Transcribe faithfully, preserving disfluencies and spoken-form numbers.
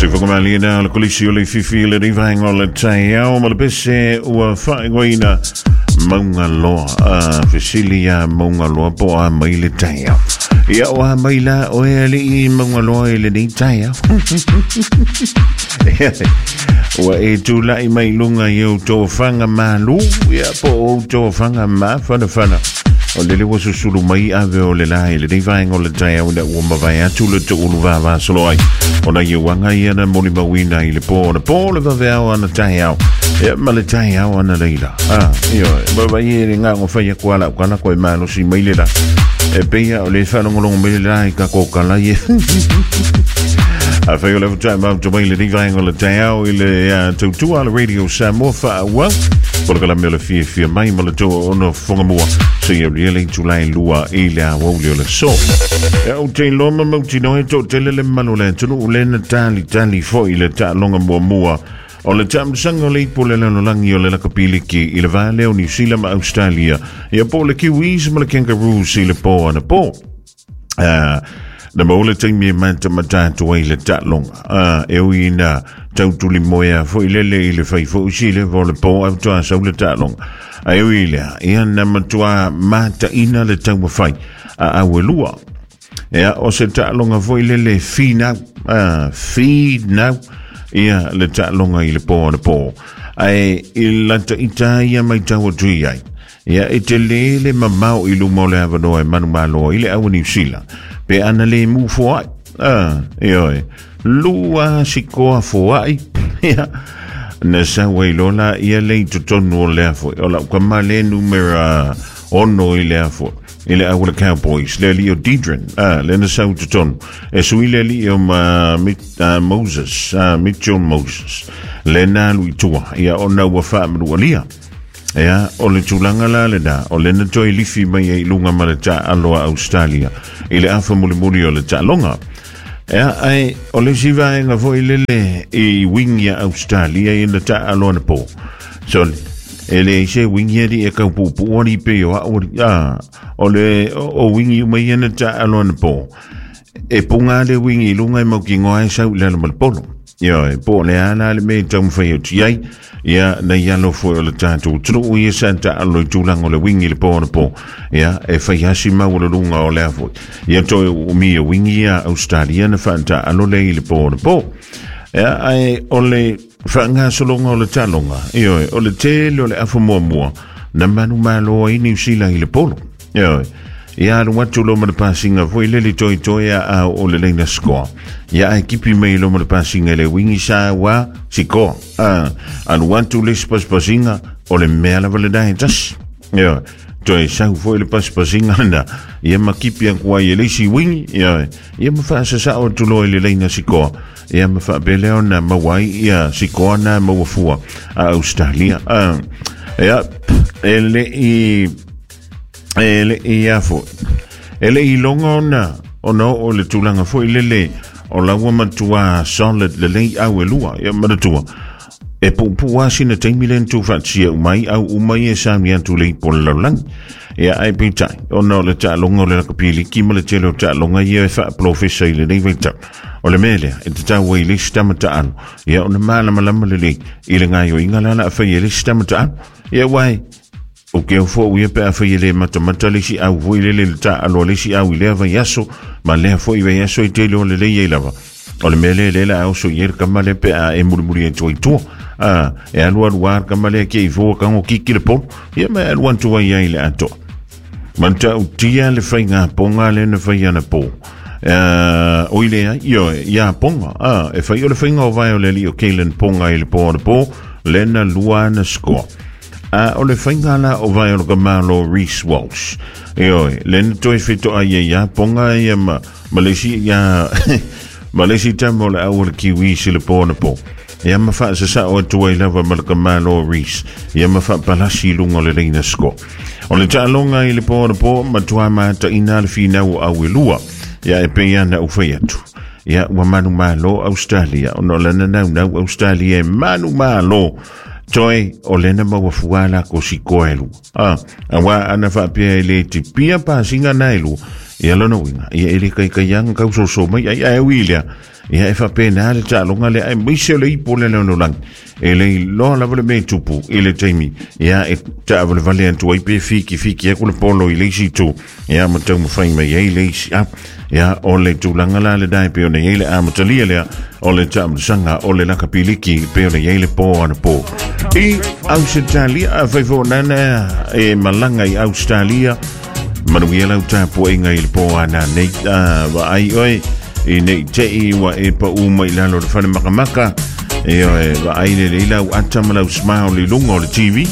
Se whakamali na le kolisi o le fifi le rivaenga o le taiao ma le pese ua whaingoina maunga loa a fesilia maunga loa po a mai le taiao. Ia o a mai la o e ali i maunga loa i le nei taiao. Ua e tūlai mai lunga i au tōwhanga malu, ia po o tōwhanga ma whana whana. O lele wa susulu mai ave o le lai le vaenga o le taiao na ua mawai atu le tuulu vava solo ai. O na ia wanga ia na moli mawina i le pō na pō le vaveao ana taiao. Ia ma le taiao ana leila. Ah, iyo, wawa i e ngā ngo whaia kuala ukala koe malosi mai le la. E peia o le whalongolongo mai le lai ka kōkala i e. A whai o level time out to mai le vaenga o le taiao i le tautua le radio Samoa whaawau. Polokala mea le fia fia mai ma le toa ono whangamua. Se ia riele tulai lua i le awauli o le so. Ia o te loma mautino e tō tele le malo le tunu u lena tali tali fo i le ta'alonga mua mua. O le ta'amsanga o le ipo le lalolangi o le lakapiliki i le vāleo New Zealand ma Australia. Ia po le Kiwis ma le Kangaroos i le pō ana pō. Uh, na maule taimi e mata matatu ai le ta'alonga. Uh, e ui na tautuli moea fo i lele i le whai fo usi le fo le pō au toa sau le ta'alonga. A ui lea, ia na matua mata ina le taumawhai a awelua. Ia o se ta'alonga fo i lele finau, uh, finau, ia le ta'alonga i le pō ana pō. Ai i lata ita ia mai tau atu i ai. Ia e te lele mamau i luma o le awanoa e manu maloa i le awa New Zealand. Pe ana le mu foai. Ah, ioe. Lua sikoa foai. Ia. Na sawa i lola ia lei totonu o lea foi. O lau kama le numera ono i lea foi. I le awa le Cowboys. Le li o Deidren. Ah, le na sau totonu. E sui le li o ma, mit, uh, Moses. Uh, Mitchell Moses. Le na lui tua. Ia o na ua whaamanu alia. Ia, o le tūlanga la le na, o le na toi lifi mai e lunga ma le ta'aloa Australia, i le afa mulimuli o le ta'alonga. Ia, ai, o le sivaenga foi lele i wingia Australia i le ta'aloa na pō. So, e le se wingia di e kaupupu ori pe o a ori, a, o le, o, o wingi umai e na ta'aloa na pō. E punga le wingi i lunga e mauki ngoa e sau le ma le polo. Ia, e pō le ana le me taumawhai o tiai, ia, na ia lo foi o le tātou tru ia sa ta'alo i tūlanga o le wingi le pō na pō. Ia, e whai hasi mau o le lunga o lea foi. Ia toi o mi e wingi ia Australia na wha ta'alo le i le pō na pō. Ia, ai o le whaangasolonga o le talonga. Ia, o le tele o le afa mua mua. Na manu maloa i New Zealand i le polo. Ia, ia alu atu lo ma le pasinga foi lele toi toi a a o le leina scoa. Ia ai kipi mai lo ma le pasinga le wingi sa wa sikoa. Ah, alu atu le paspasinga o le mea lava le dae tas. Ia, toi sau foi le paspasinga na. Ia ma kipi a kua i le isi wingi. Ia, ia ma whaasasa o tulo i le leina sikoa. Ia ma whaapeleo na mawai ia sikoa na mawafua a Australia. Ah, ia, e le i... E le i afo. E le i longa ona, ona o le tūlanga foi lele, o laua matua solid le lei au e lua, ia manatua. E pupu asina taimi le ntu whatia umai au umai e sami atu le ipo le laulangi. Ia ai peitai, ona o le ta'alonga o le lakapiliki ma le tele o ta'alonga ia e whaaplofesa i le nei vaitau. O le melea, e te tau ai le sitama ta'alo. Ia ona mālamalama le lei, i le ngaio inga lala a whai e le sitama ta'alo. Ia wai, o ke au fo uia pe a whai le matamata le si au foi le le ta'alo le si au i lea vai aso, ma lea foi vai aso i tele o le lei ei lava. O le mele le la au so i el kama le pe a e murimuri e toi tua. Ah, e alu alu ar kama le ke i fua kango kiki le polo. Ia me alu antu ai ai le atoa. Manta utia le whai ngā ponga le na whai ana pō. Uh, o ile ai, io, ia ponga. Ah, e whai o le whai ngā o vai o le li o Kalen ponga i le pō ana pō, le na lua ana skoa. Uh, o le whaingala o vai o le kamalo Reece Walsh. Io, le na toi whito ai ia ponga ia ma, Malaysia ia, Malaysia tamo le au o le Kiwi si le pō na pō. Ia ma wha sa sa o atu ai lava ma le kamalo Reece. Ia ma wha palasi lunga le leina sko. O le ta'alonga i le pō na pō, matua mata ina le whinau au e lua. Ia e pei ana u whai atu. Ia ua manu malo Australia. Ono le nanau nau Australia e manu malo. Toi o lena maua fuala ko sikoa e lua. Ah, awa ana whaapea e le te pia pasinga na e lua. Ia lona uiga, ia e le kaikaiaga kausoso mai ai ae ui lea, ia e faapena le taaloga lea aemaise o le ipu o le lalolagi e le iloa lava le mea e tupu i le taimi ia e taavalevale atu ai pe fikifiki aku le polo i le isi itu ia ma taumafai mai ai le isi a ia o le tulaga la lenā e pei ona i ai le amatalia lea o le taamilosaga o le lakapiliki pei ona i ai le pō anapō i Ausetalia. Afai foʻonana e malaga i Australia, manuia lau tapuaiga i le pō ana nei vaai oe i nei te'i ua e paʻu mai lalo le fale makamaka e oe vaai lelei lau ata ma lau smile i luga o le T V.